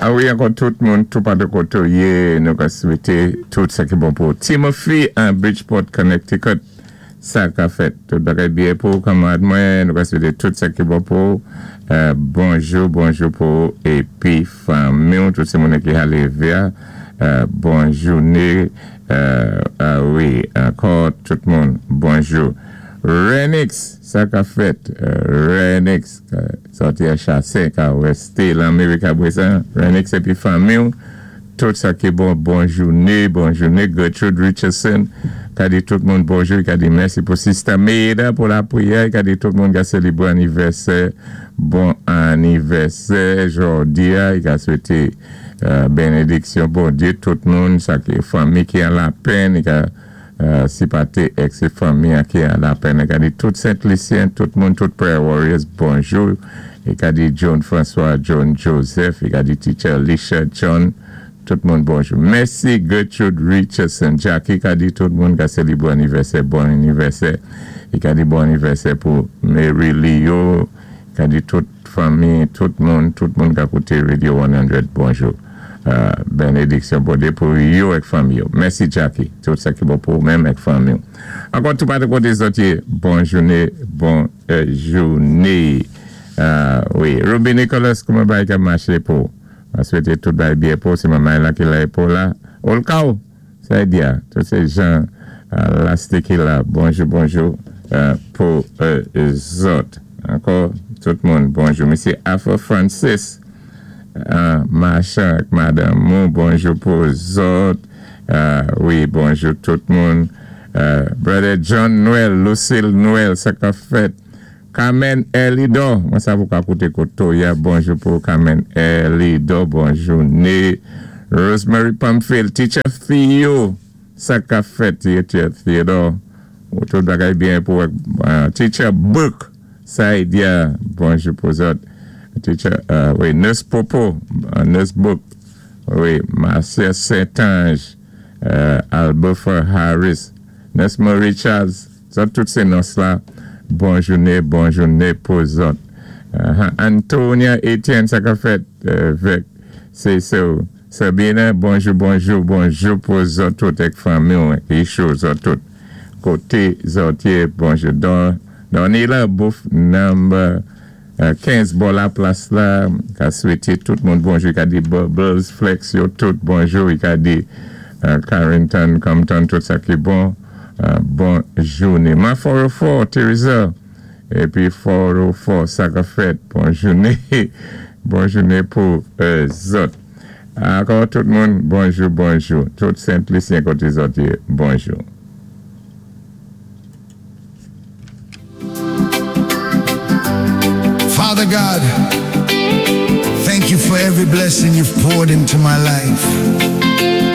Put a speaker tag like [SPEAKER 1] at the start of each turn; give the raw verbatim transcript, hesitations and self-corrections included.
[SPEAKER 1] A wi, ankò tout moun, tout patou koté ou yé, nou ka swété tout sa ki bon pou Timothy an Bridgeport, Connecticut. Sa ka fèt. Tout bagay byen pou kanmarad mwen, nou ka swété tout sa ki bon pou. Euh, bonjou, bonjou pou épi fanmi, tout sé moun ki lévé. Euh, bon jouné. Euh, a wi, ankò tout moun, bonjou. Renix, sa ka fèt. Renix, sòti a Chassin, ka wèsté Lanmérik apwé sa. Renix épi fanmi, tout sa ki bon, bon jouné, bon jouné. Gertrude Richardson, ka di tout moun bonjou, ka di mèsi pou Sister Maida pou lapriyè, ka di tout moun ka sélébwé anivèsè, bon anivèsè, jòdi-a, i ka swété euh, bénédiksyon Bondyé, tout moun, sa ki fanmi ki an lapenn, i ka euh, sipòté èk sé fanmi ki an lapenn, i ka di tout Sent-Lisyen, tout moun, tout prayer warriors, bonjou, i ka di John François, John Joseph, i ka di Teacher Alicia John, tout moun bonjou. Mèsi Gertrude Richardson. Jackie ka di tout moun ka sélébwé anivèsè, bon anivèsè. I ka di bon anivèsè pou Mary Leo. Ka di tout fanmi, tout moun, tout moun ka kouté Radio san, bonjou. Euh, bénédiksyon Bondyé pou yo èk fanmi yo. Mèsi Jackie. Tout sa ki bon pou menm èk fanmi. Ankò tout patou koté zòt yé, bon jouné, bon euh, jouné. Euh, wi, Ruby Nicholas, kouman bagay ka maché pou? Mwen swété tout bagay byen pou, sé manmay la ki la pou la. Olkao, sa di tout sé jan lasté ki la. Bonjou, bonjou euh, pou euh, zòt. Ankò, tout moun, bonjou. Misyé Afro Francis, euh, machan ak madanm mou, bonjou pou zòt. Euh, wi, bonjou tout moun. Euh, Brother John Noël, Lucille Noël, sa ka fèt. Carmen Elido, mwen sa pou ka kouté koto ya, bonjou pou Carmen Elido, bonjou né. Rosemary Pamphile, Teacher Theo, sa ka fèt, Teacher Theodore, ou tout bagay byen pou uh, Teacher Book, sa y diya, bonjou pou zòt. Teacher, uh, wi, Nurse Popo, uh, Nurse Book, wi, Marcia Saint-Ange, uh, Albufer Harris, Nurse Marie Charles, zòt tout sé nòs la, bon jouné, bon jouné pou zòt. Uh, Antonia Etienne, sa ka fèt, uh, vèk, sé so. Sabina, bonjou, bonjou, bonjou pou zòt tout èk fanmi, Isho, zòt tout. Koté zòt yé, bonjou. Don, Donila Bouf, number uh, kenz bò la plas la, ka swété tout moun bonjou, ka di Bubbles, Flex yo tout bonjou, ka di uh, Carrington, Compton, tout sa ki bon, uh, bon jouné. Ma four oh four, Teresa, épi four oh four, sa ka fèt, bon jouné, bon jouné pou euh, zòt. Ankò tout moun, bonjou, bonjou. Tout Sent-Lisyen koté zòt yé, bonjou.
[SPEAKER 2] Father God, thank you for every blessing you've poured into my life.